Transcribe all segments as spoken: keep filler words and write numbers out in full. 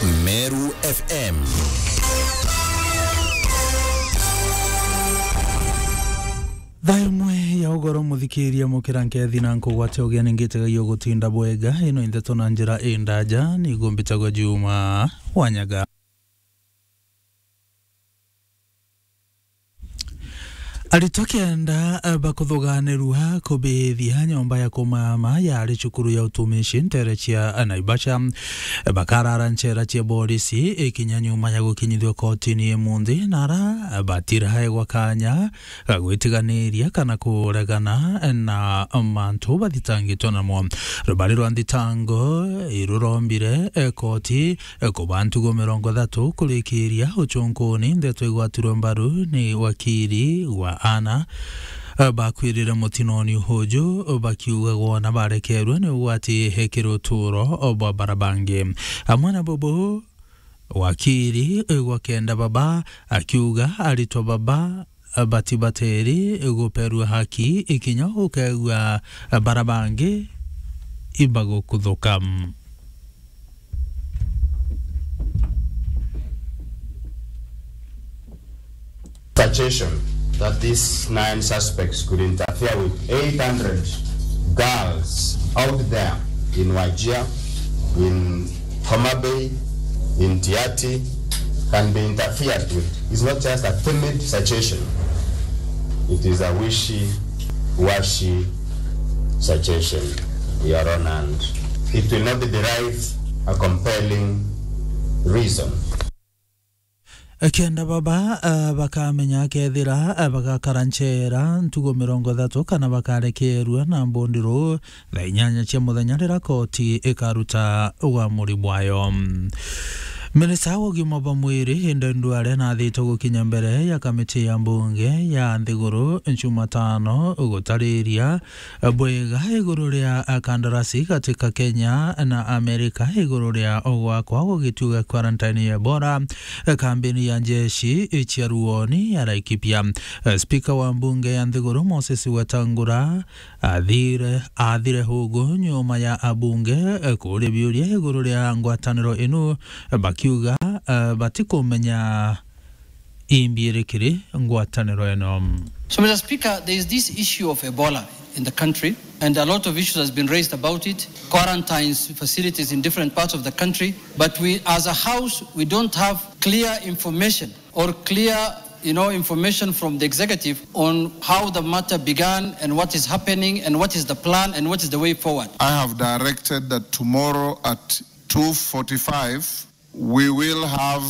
Meru F M. Thaa imwe ya ugoro, muthikiria, mukira nkethi na nkugwate ugeni ngitegagia gutinda bwega. Ino i ndeto na njira indaja, nigu mbitagwa Juma Wanyaga. Aritwa kenda, eh, bakuthuganirua kubithia nyomba ya kumama yari cukuru ya utumishi ntere cia Naivasha. Bakarara nchera cia borisi ikinya nyuma ya gukinyithua kotini imunthi, na ara batiraegwa kanya ga gwitiganiria kana kuregana na mantu bathitangitwe namo. Rubari rwa nthitango irurombire, eh, koti, eh, kuba ntugo mirongo ithatu kurikiria uchunkuni. Ndeto igwatirwe mbaru ni wakiri wa ana, eh, bakwirire mutinoni uju, bakiuga gwona barekerwe ni ugwati hekiri uturo bwa bara bangi. Amwe na bubu, wakiri gwa kenda baba akiuga aritwa baba batibateri guperua haki ikinya ukegua bara bangi ibagukuthuka. Suggestion that these nine suspects could interfere with eight hundred girls out there in Wajir, in Homa Bay, in Tiaty, can be interfered with is not just a timid suggestion. It is a wishy-washy suggestion, Your Honor, and it will not derive a compelling reason. Kenda baba, ah, bakamenya kethira, ah, bagakara nchera ntugo mirongo ithatu kana bakarekerua na mbundiru thaa inyanya cia muthenya riria koti ikaruta uamuri bwayo. Minista wa ugima bwa mwiri, Aden Duale, nathitwe gukinya mbere ya kamiti ya mbunge ya nthiguru Jumatano gutariria bwega iguru ria kandarasi gati ka Kenya na Amerika iguru ria gwakwa gwa gituo gia quarantine ya Ebola, kambini ya njeshi cia ruoni ya Laikipia. Spika wa mbunge ya nthiguru Moses Wetangula athire, athire hugu nyuma ya abunge kuria biuria iguru ria ngwataniro inu, bakiuga batikumenya imbi iri kiri ngwataniro ino. So, Mister Speaker, there is this issue of Ebola in the country, and a lot of issues has been raised about it, quarantine facilities in different parts of the country, but we, as a House, we don't have clear information or clear, you know, information from the executive on how the matter began and what is happening and what is the plan and what is the way forward. I have directed that tomorrow at two forty-five, we will have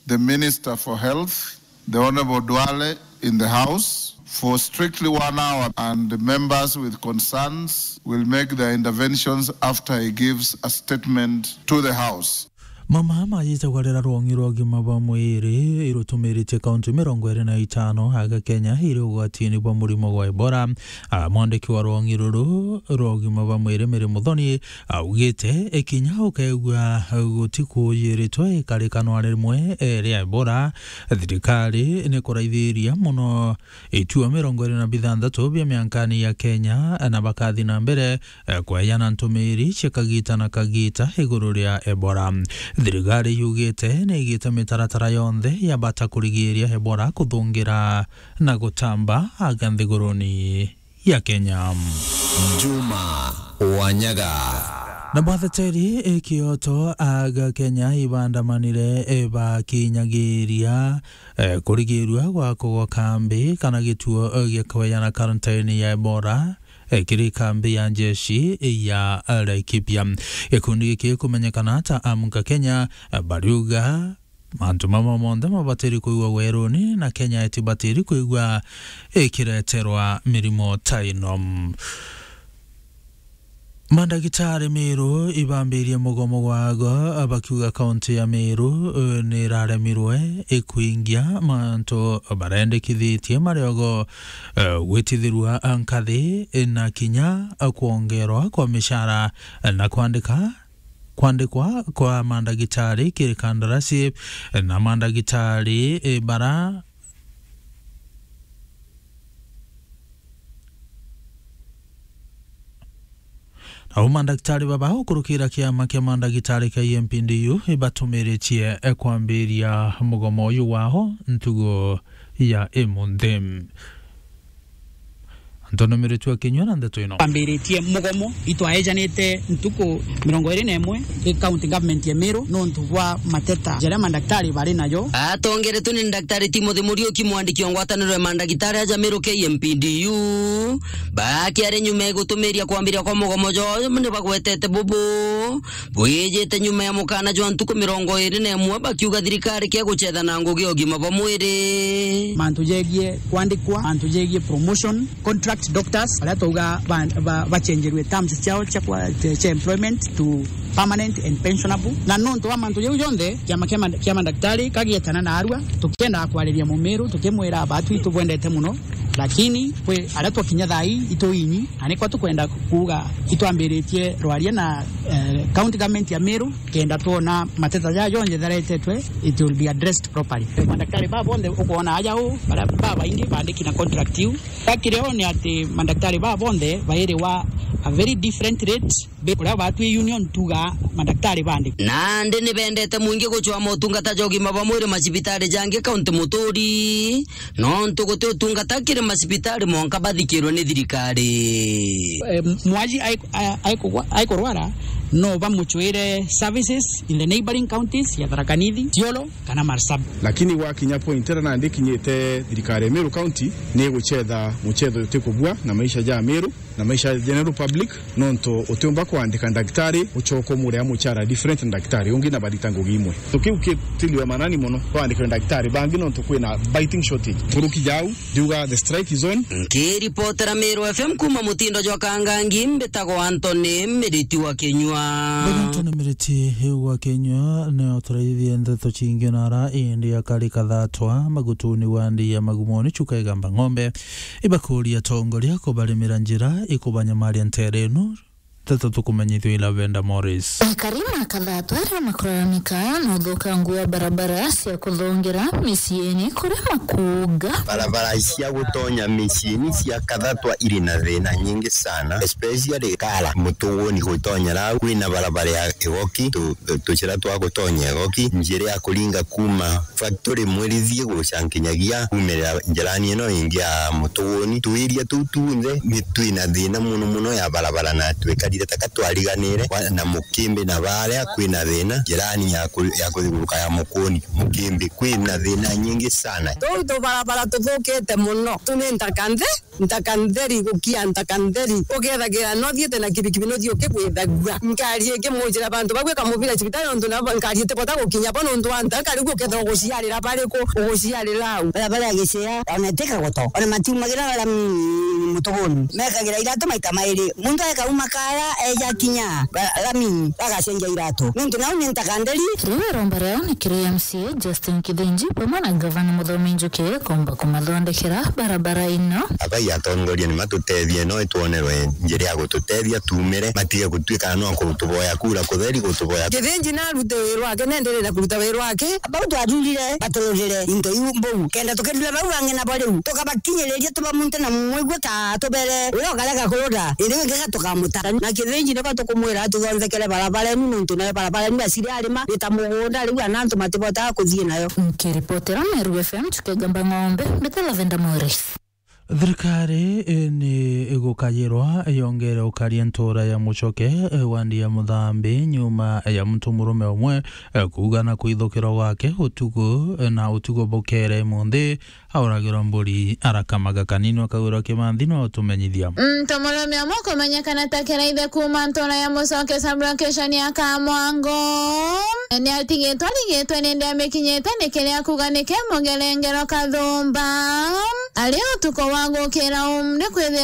the Minister for Health, the Honorable Duale, in the House for strictly one hour, and the members with concerns will make their interventions after he gives a statement to the House. Mama majitagwa rira rwong'i rwa ugima bwa mwiri irutumiritie kaunti mirongo iri na itano aga Kenya iri ugwatini bwa murimo gwa Ebola. Ah, mwandiki wa rwong'i ruru rwa ugima bwa mwiri, Mary Muthoni, augite, ikinya ukegua gutikuujiritwe ikarikano rimwe, eh, ria Ebola, thirikari ni kuraithiria mono itua mirongo iri na bithanthatu bia miankani ya Kenya, na bakathi na mbere, eh, kweyana ntumiri cia kagita na kagita iguru ria Ebola. Thirikari yugite ni igite mitaratara yonthe ya bata kurigiria Ebola kuthungira na gutamba aga nthiguruni ya Kenya. Juma Wanyaga. Na batheteri ikioto aga Kenya ibandamanire, eh, bakinyagiria, eh, kurigirua gwa kugwa kambi kana gituo, eh, gia kweyana quarantine ya Ebola, eh, kiri kambi ya njeshi ya Laikipia. Gikundi giki kumenyekana ta Amka Kenya, eh, bariuga mantu mama monthe mabatiri kwigua weruni, na Kenya itibatiri kwigua ikireterwa mirimo ta ino. Mandagitari Meru ibambirie mugomo gwago, bakiuga kaunti ya Meru, eh, ni iraremirwe ikwingia mantu barendekithitie mariogo, eh, gwitithirua nkathi, eh, na kinya kwongerwa kwa mishara, eh, na kwandika kwandikwa kwa mandagitari kiri kandarasi, na mandagitari, eh, bara Au mandagitarĩ baba ukurukira kiama kia mandagitarĩ kia E M P D U ibatumiritie kwambiria mugomo uyu wao ntugo ya imunthi. Antonio Miritu akinyua na ndeto ino. Twambiritie mugomo, itwaejanite ntuku mirongo iri na imwe i county government ya Meru nontu bwa mateta jaria mandagitarĩ bari najo. Atongeretwe ni Daktari Timothy Muriuki, mwandiki wa ngwataniro ya mandagitarĩ aja Meru K M P D U, bakiari nyuma ya gutumiria kwambiria kwa mugomo jwao, ni bagwetete bubu bwijite nyuma ya mukana jwa ntuku mirongo iri na imwe, bakiuga thirikari kia gucetha na ngugi ya ugima bwa mwiri. Mantu jegie kwandikwa, mantu jegie promotion, contract doctors, baria twauga ba-, ba-, bacenjerue terms ciao cia kwa-, cia employment to permanent and pensionable. Na nontu wa mantu jau jonthe, kiama kia manda-, kia mandagitarĩ kagietana na arua, tukiendaga kwariria Mumiru, tukimwira, batu itubwendete muno, lakini kwi aria twakinya thaa ii ituinyi, na nikwa tukwenda kuuga itwambiritie rwaria na, eh, county government ya Meru, kenda twona mateta jaa jonthe jaretetwe, it will be addressed properly. Mandagitarĩ baa bonthe ukwona aja uu, baria babaingi bandiki na contract iu. Bakire uu ni ati mandagitarĩ baa bonthe bairiwa a very different rate, be kuria batwi union tuga mandagitarĩ bandi. Nandi ni bendete mwingi gucwa motungata ja ugima bwa mwiri macibitari jangi kaunti Muturi, nontu guti utungata kiri macibitari mwanka bathikirwe ni thirikari. Eh, mwaji ai-, a-, aikugwa-, aikurwara, no bamucwire services in the neighboring counties ya Tharaka Nithi, Isiolo, kana Marsabit. Lakini gwakinya point iria nandi ikinyite, thirikari ya Meru County ni igucetha mucetho utikubua na maisha ja Meru na maisha ya general public, nontu utiumba kwandika ndagitari ucoka umuria muchara different na ndagitari ungi na barita ngugi imwe. So kiu kitiliwe manani muno, kwandikirwe ndagitari bangi nontu kwina biting shortage. Nkuruki jau, ndiuga the strike is on. Nkiripotera Meru F M kuma mutindo jwa Kangangi, mbitagwa Anthony Miriti wa Kinyua. Mbega Anthony Miriti wa Kinyua, ni uturaithie ndeto cingi na ara indi akari kathatwa magutuni wa ndi ya magumoni chuka igamba ng'ombe. Ibakuria atongoria kubarimira njira ikubanyamaria ntere ino. Nteto tukumenyithua i Lavenda Morris. Akari ma Kathatwa aria makuraramika na uthukangu wa barabara cia kuthongera miciini kuria makuuga. Barabara cia gutonya miciini cia Kathatwa iri na thina nyingi sana, especially Kara Mutuguni gutonya rau, kwina barabara ya Igoki, tu-, tuchira twa gutonya Igoki, njira ya kuringa kuma factory Mwirithie guca nkinyagia kuumirira njirani ino ingi ya Mutuguni. Tuiria tuu tunthe ni twina thina muno muno ya barabara, na twikarire taka twariganire kwa-, na Mukimbi na baria kwina thina njirani ya ku-, ya kuthiuruka ya Mukuni. Mukimbi kwina thina nyingi sana. Tuu tubarabara tuthukite muno, tu ni ntaka nthe. Ntaka ntheri, gukia ntaka ntheri. Ukethagira no thiete na kibikibi no thio kigwithagua. Nkari ikimujira bantu bagwika mubira cibitari nontu nabo nkari itibota gukinya bo nontu wa ntaka riu ukethira uguciarira bariku, uguciarira au. Barabara ya Gicea, ona itika goto, ona matiumagira lami Mutuguni. Mekagira iratu maita mairi. Muntu akauma Kara eja kinya ba-, lami, bagacenjia iratu. Nontu nau ni ntaka ntheri. Riu iromba riao ni kiri M C A Justin Kithinji, bamwe na Gavana Muthomi Njuki, komba kumathondekera barabara ino. Abai atongoria ni matutethie, no itwonerwe njira ya gututethia tuumire, matige gutuika no kutuboya kura kutheri, gutuboya. Kithinji narute wira wake, nenderere kuruta wira wake. Bau twathurire batururire into iu mbou, kenda tukirurira bau bangi nabo riu, tukabakinyiriria tubamunte na mwigua ta tubere uria ukarega kurura, indi wingi tukamuta. Na Kithinji niko tukumwira atuthonthekere barabara inu, nontu nayo barabara inu aciri arima ni ta mugunda, riu ana antu matibotaga kuthii nayo. Nkiripotera Meru F M, Chuka Igamba Ng'ombe, mbita Lavenda Morris. Thirikari, eh, ni igukayirwa yongere ukaria ntura ya Muchoke, eh, wandi ya Muthambi, nyuma ya muntu murume umwe, eh, kuuga na kwithukirwa gwake utuku, eh, na utuku bukere munthi, auragirwa mburi arakamaga kanini, akagwirwa kimanthi, no tumenyithia. Ntomurume umwe kumenyekana ta Kiraithe kuuma ntura ya Muchoke sub-location ya Kamwango, ni atigitwe arigitwe ni ndi amikinyite ni kiria kuuga ni kimugerengero kathumba. Ari utuku wa gukira um, ni kwithira